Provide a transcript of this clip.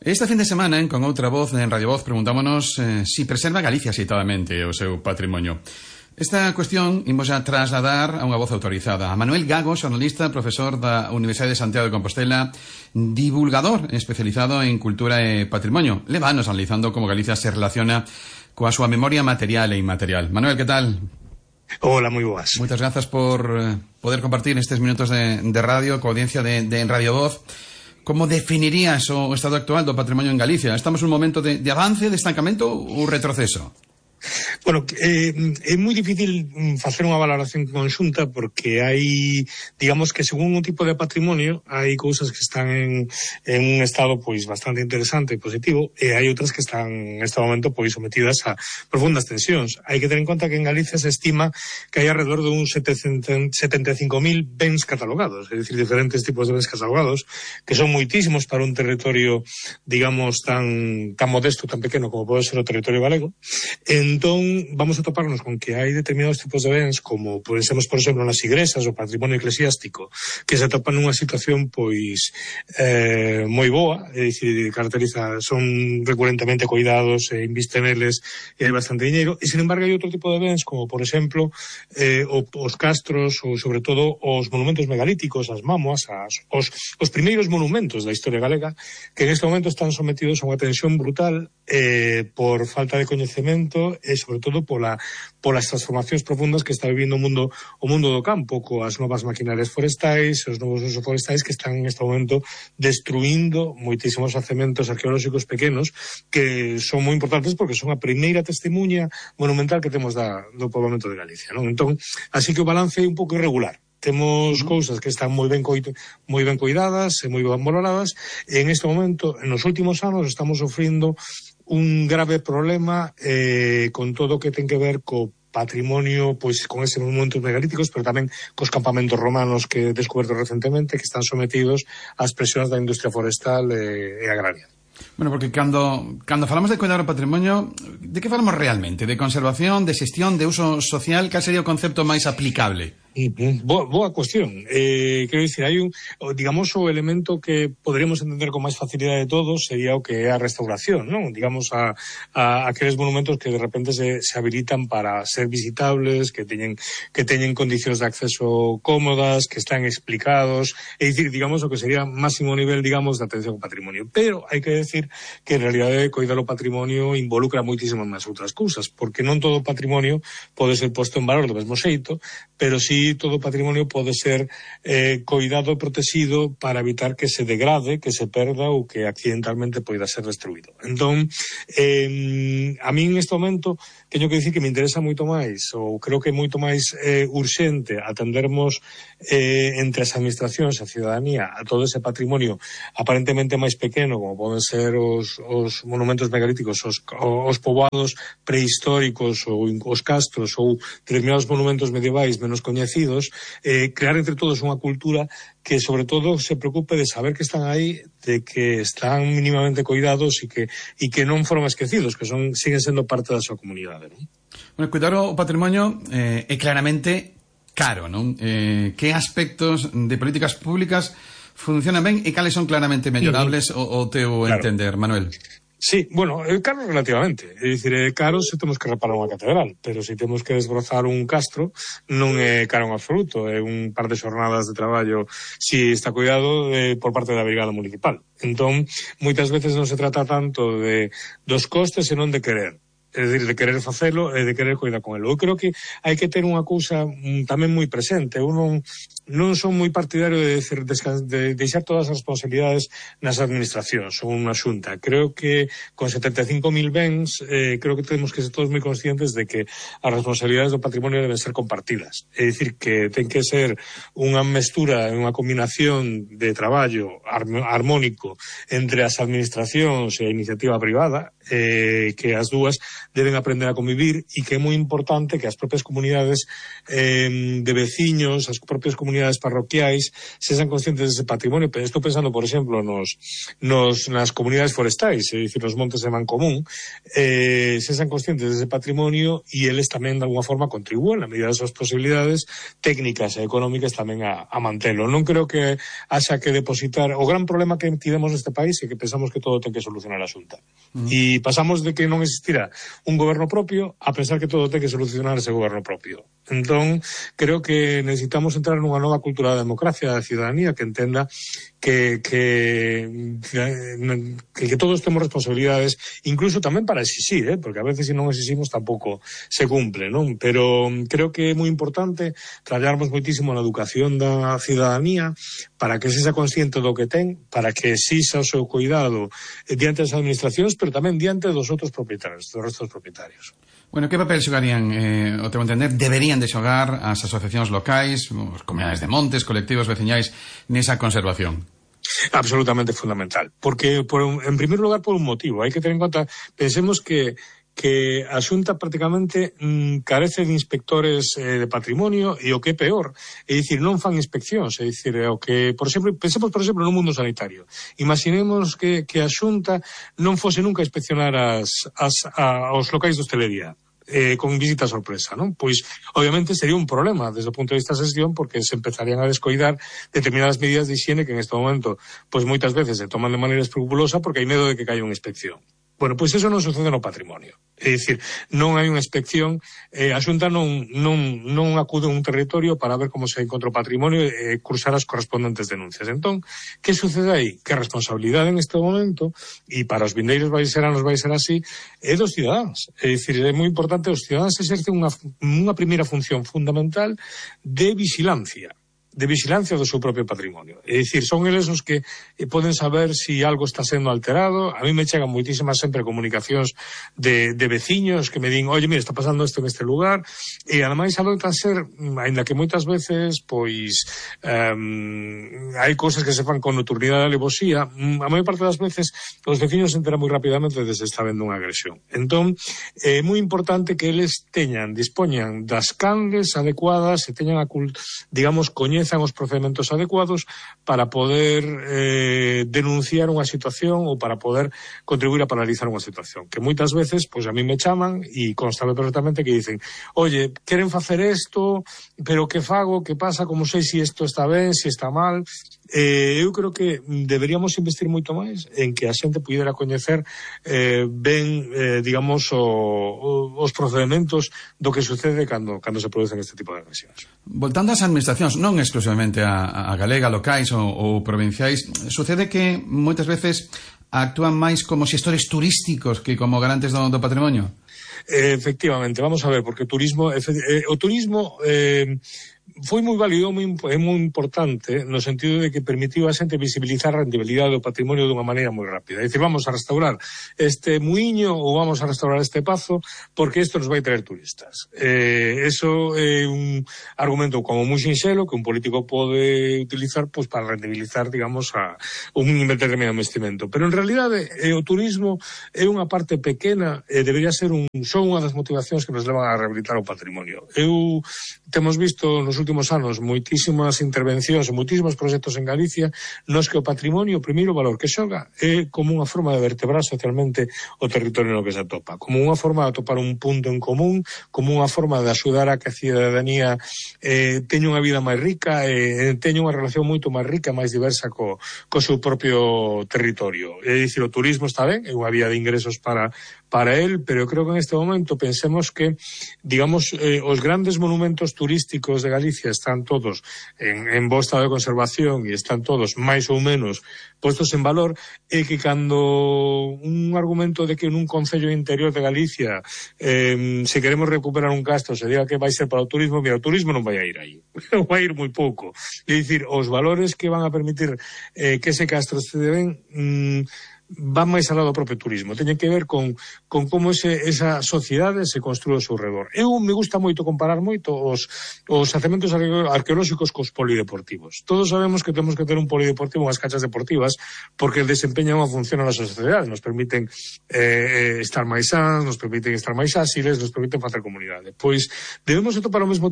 Este fin de semana, con outra voz en Radio Voz, preguntámonos si preserva Galicia xeitadamente o seu patrimonio. Esta cuestión imos a trasladar a unha voz autorizada. A Manuel Gago, xornalista, profesor da Universidade de Santiago de Compostela, divulgador especializado en cultura e patrimonio. Leva anos analizando como Galicia se relaciona coa súa memoria material e inmaterial. Manuel, que tal? Hola, moi boas. Moitas grazas por poder compartir estes minutos de radio coa audiencia de Radio Voz. Como definirías o estado actual do patrimonio en Galicia? Estamos nun momento de avance, de estancamento ou retroceso? Bueno, é moi difícil facer unha valoración conxunta porque hai, digamos que según un tipo de patrimonio, hai cousas que están en un estado pois bastante interesante e positivo e hai outras que están neste momento pois sometidas a profundas tensións. Hai que ter en conta que en Galicia se estima que hai alrededor de uns 75.000 bens catalogados, é dicir, diferentes tipos de bens catalogados, que son moitísimos para un territorio, digamos, tan modesto, tan pequeno como pode ser o territorio galego. Entón, vamos a toparnos con que hai determinados tipos de bens, como pensemos, por exemplo, nas igrexas, o patrimonio eclesiástico, que se atopan nunha situación, pois, moi boa, é dicir, caracteriza, son recurentemente cuidados, invisten neles, hai bastante diñeiro, e, sin embargo, hai outro tipo de bens, como, por exemplo, os castros, ou, sobre todo, os monumentos megalíticos, as mámoas, os primeiros monumentos da historia galega, que en este momento están sometidos a unha tensión brutal por falta de coñecemento e, sobre todo, polas transformacións profundas que está vivindo o mundo do campo, coas novas maquinarias forestais, os novos usos forestais que están en este momento destruindo moitísimos yacementos arqueolóxicos pequenos que son moi importantes porque son a primeira testemunha monumental que temos do poboamento de Galicia, non? Entón, así que o balance é un pouco irregular. Temos cousas que están moi ben cuidadas e moi ben valoradas e en este momento, nos últimos anos, estamos sofrindo un grave problema con todo o que ten que ver co patrimonio, pois con ese monumentos megalíticos, pero tamén cos campamentos romanos que he descoberto recentemente, que están sometidos ás presións da industria forestal e agraria. Bueno, porque cando falamos de cuidar o patrimonio, de que falamos realmente? De conservación, de xestión, de uso social? Cal sería o concepto máis aplicable? Boa cuestión. Quero dicir, hai digamos, o elemento que poderíamos entender con máis facilidade de todos sería o que é a restauración, non? Digamos, a aqueles monumentos que de repente se habilitan para ser visitables, que teñen condicións de acceso cómodas, que están explicados, é dicir, digamos, o que sería máximo nivel, digamos, de atención ao patrimonio. Pero hai que decir que en realidade coidar o patrimonio involucra moitísimas máis outras cousas, porque non todo o patrimonio pode ser posto en valor do mesmo xeito, pero sí todo o patrimonio pode ser coidado e protegido para evitar que se degrade, que se perda ou que accidentalmente poida ser destruído. Entón, a mí en este momento teño que dicir que me interesa moito máis, ou creo que é moito máis urxente atendermos entre as administracións e a ciudadanía a todo ese patrimonio aparentemente máis pequeno, como poden ser os monumentos megalíticos, os poboados prehistóricos ou os castros ou determinados monumentos medievais menos coñecidos, crear entre todos unha cultura que, sobre todo, se preocupe de saber que están aí, de que están mínimamente coidados e que non foron esquecidos, que siguen sendo parte da súa comunidade, non? Bueno, cuidar o patrimonio é claramente caro, non? Que aspectos de políticas públicas funcionan ben e cales son claramente mellorables o teu entender, Manuel? Sí, bueno, é caro relativamente. É dicir, é caro se temos que reparar unha catedral, pero se temos que desbrozar un castro non é caro en absoluto, é un par de xornadas de traballo si está cuidado por parte da brigada municipal. Entón, moitas veces non se trata tanto dos costes, senón de querer. É dicir, de querer facelo e de querer coidar con ele. Eu creo que hai que ter unha cousa tamén moi presente. Eu non son moi partidario de deixar todas as responsabilidades nas administracións ou unha xunta. Creo que con 75.000 bens creo que temos que ser todos moi conscientes de que as responsabilidades do patrimonio deben ser compartidas. É dicir, que ten que ser unha mestura, unha combinación de traballo armónico entre as administracións e a iniciativa privada. que as dúas deben aprender a convivir e que é moi importante que as propias comunidades de veciños, as propias comunidades parroquiais sexan conscientes dese patrimonio. Estou pensando, por exemplo, nas comunidades forestais, é dicir, nos montes de Mancomún, sexan conscientes dese patrimonio e eles tamén de alguna forma contribúen na medida das súas posibilidades técnicas e económicas tamén a mantelo. Non creo que haxa que depositar. O gran problema que tivemos neste país é que pensamos que todo ten que solucionar a Xunta. E pasamos de que non existira un goberno propio a pensar que todo ten que solucionar ese goberno propio. Entón, creo que necesitamos entrar nunha nova cultura da democracia, da ciudadanía, que entenda que todos temos responsabilidades, incluso tamén para exixir, porque a veces se non exiximos tampouco se cumple, non? Pero creo que é moi importante traballarmos moitísimo na educación da ciudadanía para que se sexa consciente do que ten, para que exixa o seu cuidado diante das administracións, pero tamén diante dos outros propietarios, dos restos propietarios. Bueno, que papel xogarían, o teu entender, deberían de xogar as asociacións locais, os comunidades de montes, colectivos veciñais, nesa conservación? Absolutamente fundamental, porque en primer lugar por un motivo, hai que ter en conta, pensemos que a Xunta prácticamente carece de inspectores de patrimonio e o que é peor, é dicir, non fan inspeccións, é dicir, o que, por exemplo, pensemos por exemplo no mundo sanitario. Imaginemos que a Xunta non fose nunca a inspeccionar aos locais de hostelería. Con visita sorpresa, non? Pois, obviamente, sería un problema desde o punto de vista da xestión, porque se empezarían a descoidar determinadas medidas de higiene que en este momento, pois moitas veces se toman de maneira escrupulosa porque hai medo de que caia unha inspección. Bueno, pois eso non sucede no patrimonio. É dicir, non hai unha inspección, a Xunta non acude a un territorio para ver como se encontra o patrimonio e cursar as correspondentes denuncias. Entón, que sucede aí? Que a responsabilidade en este momento, e para os vindeiros vai ser así, é dos cidadáns. É dicir, é moi importante, os cidadáns exercen unha primeira función fundamental de vigilancia do seu propio patrimonio. É dicir, son eles os que poden saber se algo está sendo alterado. A mí me chegan moitísimas sempre comunicacións de veciños que me din, oye, mira, está pasando isto en este lugar, e ademais adoitan ser, ainda que moitas veces, pois, hai cousas que se fan con nocturnidade e alevosía, a maior parte das veces os veciños se enteran moi rapidamente de se está vendo unha agresión. Entón, é moi importante que eles dispoñan das canles adecuadas e teñan digamos, coñezan os procedementos adecuados para poder denunciar unha situación ou para poder contribuir a paralizar unha situación. Que moitas veces, pois a mí me chaman e constame perfectamente que dicen, oye, queren facer isto, pero que fago, que pasa, como sei se isto está ben, se está mal. Eu creo que deberíamos investir moito máis en que a xente pudera coñecer ben, digamos, os procedementos do que sucede cando se producen este tipo de agresións. Voltando ás administracións, non exclusivamente a galega, locais ou provinciais, sucede que moitas veces actúan máis como xestores turísticos que como garantes do patrimonio? Efectivamente, vamos a ver, porque o turismo foi moi válido e moi importante no sentido de que permitiu a xente visibilizar a rendibilidade do patrimonio dunha maneira moi rápida. É dicir, vamos a restaurar este muiño ou vamos a restaurar este pazo porque isto nos vai traer turistas. Eso é un argumento como moi sinxelo que un político pode utilizar pois para rendibilizar, digamos, a un determinado investimento. Pero en realidade o turismo é unha parte pequena e debería ser son unha das motivacións que nos levan a rehabilitar o patrimonio. Temos visto nos últimos anos moitísimas intervencións e moitísimos proxectos en Galicia nos que o patrimonio, o primeiro valor que xoga é como unha forma de vertebrar socialmente o territorio no que se atopa, como unha forma de atopar un punto en común, como unha forma de axudar a que a cidadanía teña unha vida máis rica e teña unha relación moito máis rica, máis diversa co seu propio territorio. É dicir, o turismo está ben, é unha vía de ingresos para él, pero creo que en este momento pensemos que, digamos, os grandes monumentos turísticos de Galicia están todos en bo estado de conservación e están todos máis ou menos postos en valor, e que cando un argumento de que nun concello interior de Galicia se queremos recuperar un castro se diga que vai ser para o turismo, mira, o turismo non vai a ir aí, vai a ir moi pouco. É dicir, os valores que van a permitir que ese castro esté ben van máis alá do propio turismo, teñen que ver con como esa sociedade se construe ao seu redor. Eu me gusta moito comparar moito os xacementos arqueolóxicos cos polideportivos. Todos sabemos que temos que ter un polideportivo, unhas canchas deportivas, porque desempeñan unha función na nosa sociedade, nos permiten estar máis sans, nos permiten estar máis áxiles, nos permiten facer comunidade. Pois debemos atopar ao mesmo